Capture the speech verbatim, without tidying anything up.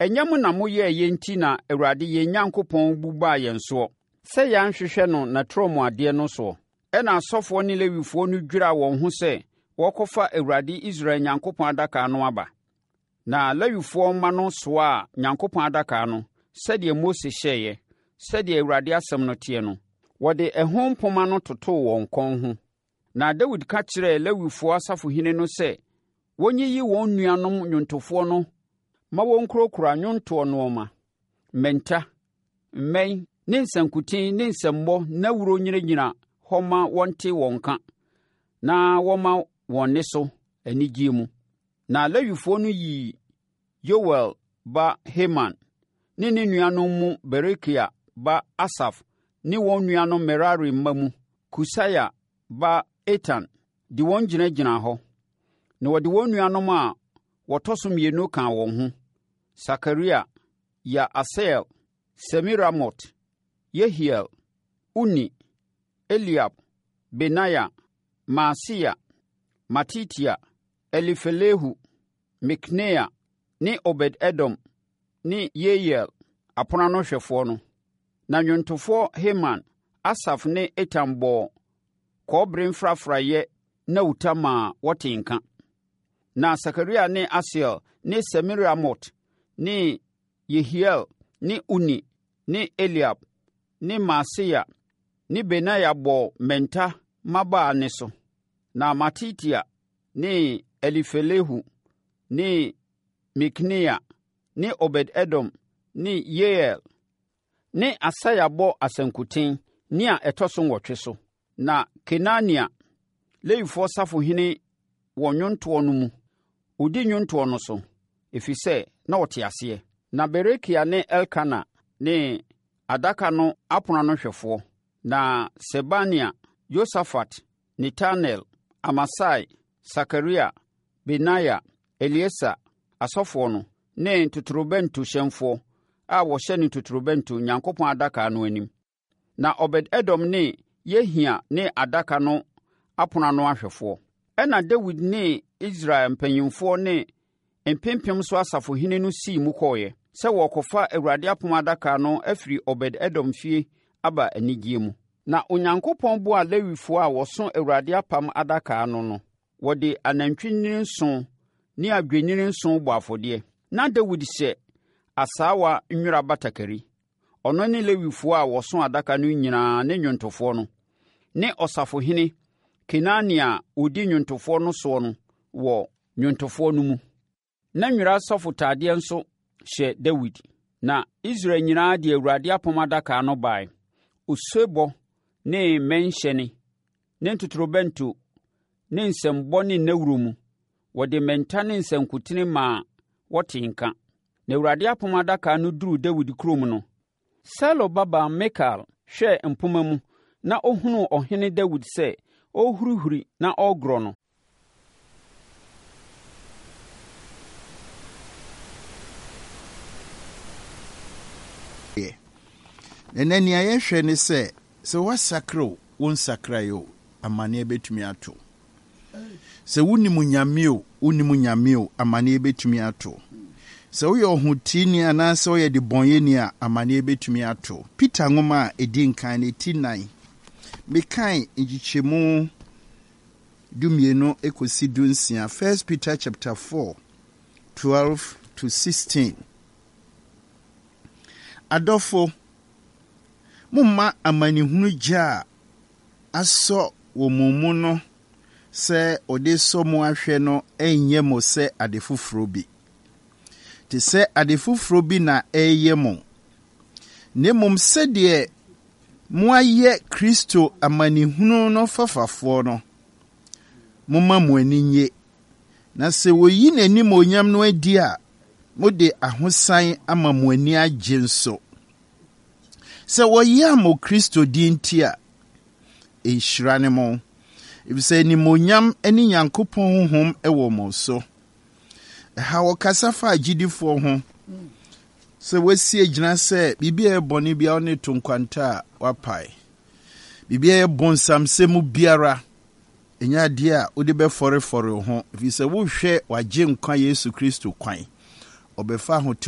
Ɛnyɛ mo na moyɛeɛ enti na Awurade yɛn Onyankopɔn bo baa yɛn soɔ, sɛ yɛanhwehwɛ no n'atorɔmuadeɛ no soɔ. Ɛnna asɔfoɔ ne Lewifoɔ no dwiraa wɔn ho sɛ wɔrekɔfa Awurade Israel Onyankopɔn Adaka no aba. Na Lewifoɔ mma no soaa Onyankopɔn Adaka no, sɛdeɛ Mose hyɛeɛ, sɛdeɛ Awurade asɛm no teɛ no. Wɔde ɛho mpomma no totoo wɔn kɔn ho. Na Dawid ka kyerɛɛ Lewifoɔ asafohene no sɛ wɔnyiyi wɔn nuanom nnwontofoɔ no ma wɔnkurakura nnwontoɔ nnoɔma, mmɛnta, mmɛn ne nsankuten ne nsambɔ nnawuro nnyinagyina hɔ ma wɔnte wɔn nka na wɔmma wɔn nne so anigyeɛ mu. Na Lewifoɔ no yii Yoɛl ba Heman ne ne nuanom mu Berekia ba Asaf ne wɔn nuanom Merari mma mu Kusaia ba Etan de wɔn gyinagyinaa hɔ. Na wɔde wɔn nuanom a wɔtɔ so mmienu kaa wɔn ho: Sakaria, Yaasiel, Semiramot, Yehiel, Uni, Eliab, Benaia, Maaseia, Matitia, Elifelehu, Mikneia ne Obed-Edom ne Yeiel, apono ano hwɛfoɔ no. Na nnwontofoɔ Heman, Asaf ne Etan bɔɔ kɔbere mfrafraeɛ nnawuta maa wɔtee nka. Na Sakaria ne Asiel ne Semiramot ne Yehiel ne Uni ne Eliab ne Maaseia ne Benaia bɔɔ mmɛnta mmabaa nne so. Na Matitia ne Elifelehu ne Mikneia ne Obed-Edom ne Yeiel ne Asaia bɔ asankuten nne a ɛtɔ so nwɔtwe so. Na Kenania, Lewifoɔ safohene wɔ nnwontoɔ no mu, ɔdi nnwontoɔ no so, ɛfiri sɛ na ɔte aseɛ. Na Berekia ne Elkana ne adaka no apono ano hwɛfoɔ. Na Sebania, Yosafat, Netanel, Amasai, Sakaria, Benaia, Elieser, asɔfoɔ no, ne ntotorobɛntohyɛnfoɔ a wɔhyɛne ntotorobɛnto Onyankopɔn adaka no anim. Na Obed-Edom ne Yehia ne adaka no apono ano ahwɛfoɔ. Ɛnna Dawid ne Israel mpanimfoɔ ne mpempem so asafohene no sii mu kɔeɛ sɛ wɔrekɔfa Awurade apam adaka no afiri Obed-Edom fie aba anigyeɛ mu. Na Onyankopɔn boaa Lewifoɔ a wɔso Awurade apam adaka no no. Wɔde anantwinini nson ne adwennini nson bɔɔ afɔdeɛ. Na Dawid hyɛ asaawa nwera batakari. Ɔno ne Lewifoɔ a wɔso adaka no nyinaa ne nnwontofoɔ no, ne ɔsafohene Kenania a ɔdi nnwontofoɔ no soɔ no wɔ nnwontofoɔ no mu. Na nwera asɔfotadeɛ nso hyɛ Dawid. Na Israel nyinaa de Awurade apam adaka no baeɛ, osebɔ ne mmɛnhyɛne ne ntotorobɛnto ne nsambɔ ne nnawuro mu. Wɔde mmɛnta ne nsankutene maa wɔtee nka. Na Awurade apam adaka no duruu Dawid kurom no, Saulo babaa Mikal hwɛɛ mpomma mu na ɔhunuu ɔhene Dawid sɛ ɔrehurihuri na ɔregorɔ no, Yɛ. Na ɛnnɛ nea yɛhwɛ ne sɛ, sɛ woasakra o, wonsakrae o, amaneɛ bɛtumi ato wo. Sɛ wonim Nyame o, wonnim Nyame o, amaneɛ bɛtumi ato wo. Sɛ woyɛ ɔhoteeni anaasɛ woyɛ debɔnyɛni a, amaneɛ bɛtumi ato wo. Peter nwoma a ɛdi nkan no, ti nnan, mekan nkyekyɛmu dumienu kɔsi dunsia, First Peter chapter four, twelve to sixteen. Adɔfo, momma amanehunu gya a asɔ wɔ mo mu no sɛ ɔde sɔ mo ahwɛ no nyɛ mo sɛ ade foforɔ bi. Te sɛ ade foforɔ bi na ɛreyɛ mo, na mmom sɛdeɛ moayɛ Kristo amanehunu no fafafoɔ no, momma mo ani nnye. Na sɛ wɔyi n'animuonyam no adi a, mode ahosan ama mo ani agye nso. Sɛ wɔyam mo Kristo din nti a, nhyira ne mo, efisɛ animuonyam ne Nyankopɔn honhom wɔ mo so. Ɛha wɔkasa fa agyidifoɔ ho sɛ wɔasi agyina sɛ biribi a ɛyɛ bɔne biara ne to nkwanta a wapae. Biribi a ɛyɛ bonsamsɛm biara ɛnyɛ adeɛ a wode bɛfɔrefɔre wo ho, ɛfiri sɛ wohwɛ wagye nkwa Yesu Kristo kwan. Ɔbɛfa ahotew